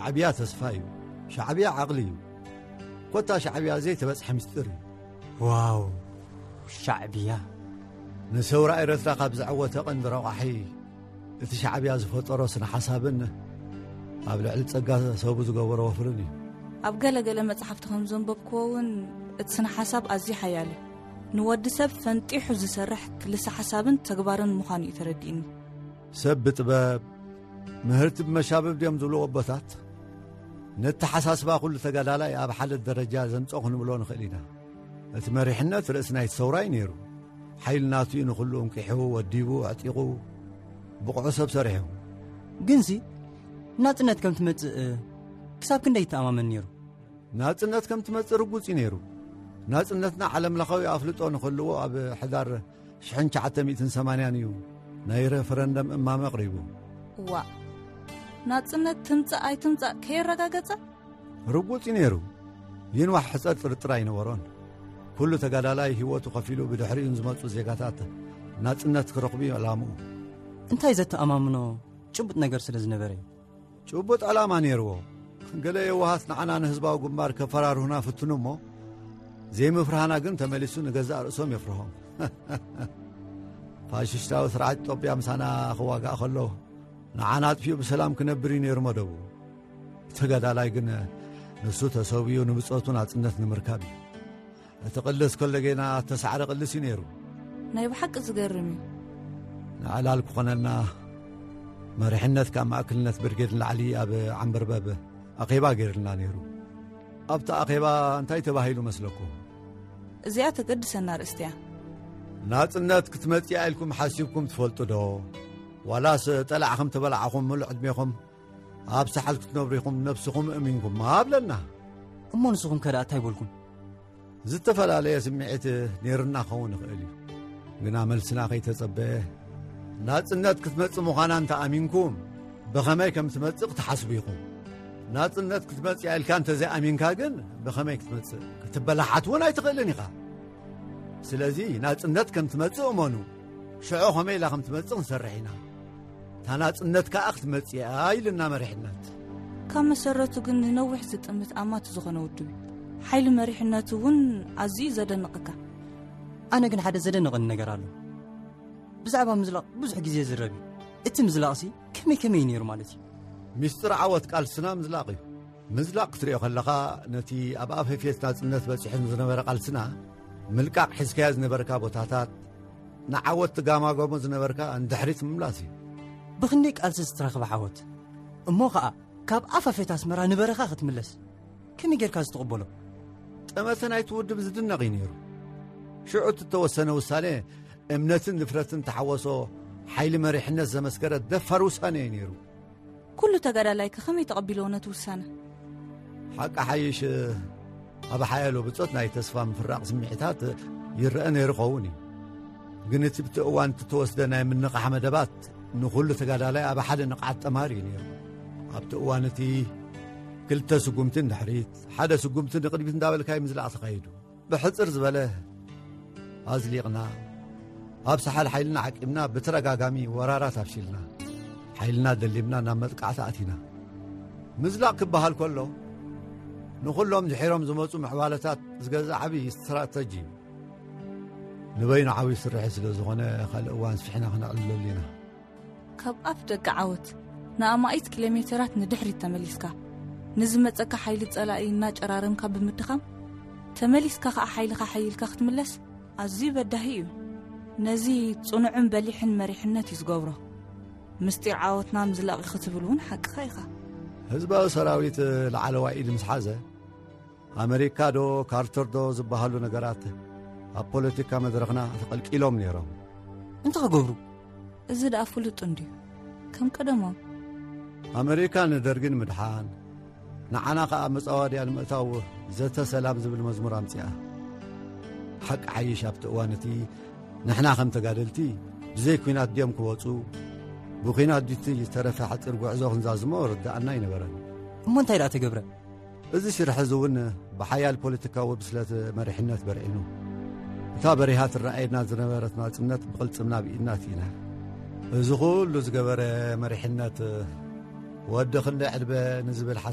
ሻዕብያ ተስፋ እዩ። ሻዕብያ ዓቕሊ እዩ። ኮታ ሻዕብያ ዘይተበጽሐ ምስጢር እዩ። ዋው፣ ሻዕብያ ንሰውራ ኤረትራ ካብ ዘዐወተ ቀንዲ ረቋሒ፣ እቲ ሻዕብያ ዝፈጠሮ ስነ ሓሳብን ኣብ ልዕሊ ጸጋ ሰቡ ዝገበሮ ወፍርን እዩ። ኣብ ገለ ገለ መጻሕፍቲ ከም ዘንበብክዎ እውን፣ እቲ ስነ ሓሳብ ኣዝዩ ሓያል እዩ። ንወዲ ሰብ ፈንጢሑ ዝሰርሕ ክልሰ ሓሳብን ተግባርን ምዃኑ እዩ ተረዲእኒ። ሰብ ብጥበብ፣ ምህርቲ ብመሻብብ ድዮም ዝብሉ ኣቦታት፣ ነተሓሳስባ ኩሉ ተጋዳላይ ኣብ ሓደ ደረጃ ዘምጾ ክንብሎ ንኽእል ኢና። እቲ መሪሕነት ርእሲ ናይቲ ሰውራ እዩ ነይሩ። ሓይሊ ናቱ እዩ ንኹሉ እንቂሑ፣ ወዲቡ፣ ኣዕጢቑ፣ ብቑዑ ሰብ ሰሪሑ። ግንሲ፣ ናጽነት ከም ትመጽእ ክሳብ ክንደይ ይተኣማመን ነይሩ? ናጽነት ከም ትመጽእ ርጉጽ እዩ ነይሩ። ናጽነትና ዓለምለኻዊ ኣፍልጦ ንኽህልዎ ኣብ ሕዳር ሽሕን ትሽዓተ ሚእትን ሰማንያን እዩ ናይ ሬፈረንደም እማመ ኣቕሪቡ። እዋእ፣ ናጽነት ትምጻእ ኣይትምጻእ ከየረጋገጸ? ርጉጽ እዩ ነይሩ። ይንዋሕ ሕጸር ጥርጥር ኣይነበሮን። ኩሉ ተጋዳላይ ህይወቱ ከፊሉ ብድሕሪኡ ንዝመጹ ዜጋታት ናጽነት ክረኽቡ እዩ ዕላምኡ። እንታይ ዘተኣማምኖ ጭቡጥ ነገር ስለ ዝነበረ እዩ። ጭቡጥ ዕላማ ነይርዎ። ገለ የዋሃት ንዓና ንህዝባዊ ግንባር ከፈራርሁና ፍትኑ እሞ፣ ዘይምፍርሃና ግን ተመሊሱ ንገዛእ ርእሶም የፍርሆም። ፋሽስታዊ ስርዓት ኢትዮጵያ ምሳና ክዋጋእ ከሎ፣ ንዓና ኣጥፊኡ ብሰላም ክነብር እዩ ነይሩ መደቡ። ተጋዳላይ ግን ንሱ ተሰዊኡ ንብጾቱ ናጽነት ንምርካብ እዩ። እቲ ቅልስ ከሎ ጌና እተሳዕረ ቅልስ እዩ ነይሩ። ናይ ብሓቂ ዝገርም እዩ። ንዕላል ክኾነና መሪሕነት ካብ ማእከልነት ብርጌድ ንላዕሊ ኣብ ዓንበርበብ ኣኼባ ገይርልና ነይሩ። ኣብቲ ኣኼባ እንታይ ተባሂሉ መስለኩም? እዚኣ ተገድሰና ኣርእስቲ እያ። ናጽነት ክትመጽእ ኢልኩም ሓሲብኩም ትፈልጡ ዶ? ዋላስ ጠላዕ ከም ተበላዕኹም ሙሉእ ዕድሜኹም ኣብ ሳሕል ክትነብሩ ኢኹም ነብስኹም እሚንኩም ኣብለና። እሞ ንስኹም ከ ደኣ እንታይ በልኩም? ዝተፈላለየ ስምዒት ነይርና ክኸውን ይኽእል እዩ። ግና መልስና ከይተጸበየ፣ ናጽነት ክትመጽእ ምዃና እንተ ኣሚንኩም፣ ብኸመይ ከም ትመጽእ ክትሓስቡ ኢኹም። ናጽነት ክትመጽእ ኢልካ እንተ ዘይኣሚንካ ግን፣ ብኸመይ ክትመጽእ? ክትበላሓት እውን ኣይትኽእልን ኢኻ። ስለዚ ናጽነት ከም ትመጽእ እመኑ። ሽዑ ከመይ ኢላ ከም ትመጽእ ክንሰርሕ ኢና። እታ ናጽነት ከኣ ክትመጽእ እያ ኢልና መሪሕነት። ካብ መሰረቱ ግን ንነዊሕ ዝጥምት ኣማት ዝኾነ ውድብ እዩ። ሓይሊ መሪሕነቱ እውን ኣዝዩ ዘደንቐካ። ኣነ ግን ሓደ ዘደንቐኒ ነገር ኣሎ። ብዛዕባ ምዝላቕ ብዙሕ ግዜ ይዝረብ እዩ። እቲ ምዝላቕሲ ከመይ ከመይ እዩ ነይሩ ማለት እዩ? ሚስጥር ዓወት ቃልስና ምዝላቕ እዩ። ምዝላቕ ክትሪኦ ከለኻ፣ ነቲ ኣብ ኣፈፌት ናጽነት በጺሑ ዝነበረ ቃልስና ምልቃቕ፣ ሒዝካዮ ዝነበርካ ቦታታት፣ ንዓወት ትጋማገሞ ዝነበርካ ንድሕሪት ምምላስ እዩ። ብኽንደይ ቃልሲ ዝተረኽበ ዓወት እሞ ኸኣ ካብ ኣፋፌት ኣስመራ ንበረኻ ክትምለስ ከመይ ጌርካ ዝተቐበሎ? ጠመተ ናይቲ ውድብ ዝድነቕ እዩ ነይሩ። ሽዑ እቲ እተወሰነ ውሳኔ እምነትን ድፍረትን ተሓወሶ ሓይሊ መሪሕነት ዘመስከረ ደፋር ውሳኔ እዩ ነይሩ። ኩሉ ተጋዳላይ ከ ከመይ ተቐቢልዎ ነቲ ውሳነ? ሓቂ ሓይሽ፣ ኣብ ሓያሎ ብጾት ናይ ተስፋ ምፍራቕ ስምዒታት ይረአ ነይሩ ኸውን እዩ። ግን እቲ ብቲ እዋን እቲ ተወስደ ናይ ምንቓሕ መደባት ንኹሉ ተጋዳላይ ኣብ ሓደ ንቕሓት ጠማሪ እዩ ነይሩ። ኣብቲ እዋን እቲ ክልተ ስጉምቲ ንድሕሪት፣ ሓደ ስጉምቲ ንቕድሚት እንዳበልካ እዩ ምዝላቕ ተኻይዱ። ብሕጽር ዝበለ ኣዝሊቕና፣ ኣብ ሰሓል ሓይልና ዓቂብና ብተደጋጋሚ ወራራት ኣፍሺልና፣ ሓይልና ደሊብና ናብ መጥቃዕቲ ኣቲና። ምዝላቕ ክበሃል ከሎ፣ ንኹሎም ድሒሮም ዝመጹ ምዕባለታት ዝገዝእ ዓቢ ስትራተጂ እዩ። ንበይኑ ዓቢ ስርሒ ስለ ዝኾነ፣ ካልእ እዋን ስፊሕና ክነዕልለሉ ኢና። ካብ ኣፍ ደቂ ዓወት ንኣማኢት ኪሎ ሜተራት ንድሕሪት ተመሊስካ፣ ንዝመጸካ ሓይሊ ጸላኢ እናጨራረምካ ብምድኻም፣ ተመሊስካ ኸኣ ሓይልኻ ሓይልካ ክትምለስ ኣዝዩ በዳሂ እዩ። ነዚ ጽኑዕን በሊሕን መሪሕነት እዩ ዝገብሮ። ምስጢር ዓወትና ምዝላቕ እዩ ክትብል እውን ሓቅኻ ኢኻ። ህዝባዊ ሰራዊት ላዕለዋይ ኢድ ምስ ሓዘ፣ ኣመሪካ ዶ ካርተር ዶ ዝበሃሉ ነገራት ኣብ ፖለቲካ መድረኽና ተቐልቂሎም ነይሮም። እንታይ ክገብሩ? እዚ ደኣ ፍሉጥ እንድዩ። ከም ቀደሞም። ኣመሪካ ንደርጊ ንምድሓን፣ ንዓና ኸኣ መጻወድያ ንምእታው ዘተ ሰላም ዝብል መዝሙር ኣምጺኣ። ሓቂ ሓይሽ ኣብቲ እዋን እቲ ንሕና ከም ተጋደልቲ ብዘይ ኲናት ድዮም ክወጹ፣ ብኲናት ድቲ ዝተረፈ ሓጺር ጉዕዞ ክንዛዝሞ ርድኣና ኣይነበረን። እሞ እንታይ ደኣ ተገብረ? እዚ ሽርሒ እዚ እውን ብሓያል ፖለቲካዊ ብስለት መሪሕነት በርዒኑ። እታ በሪሃ ትረኣየና ዝነበረት ናጽነት ብቕልጽምና ብኢድና ኣእቲና። እዚ ኩሉ ዝገበረ መሪሕነት ወዲ ክንደይ ዕድመ ንዝብል ሓሳብ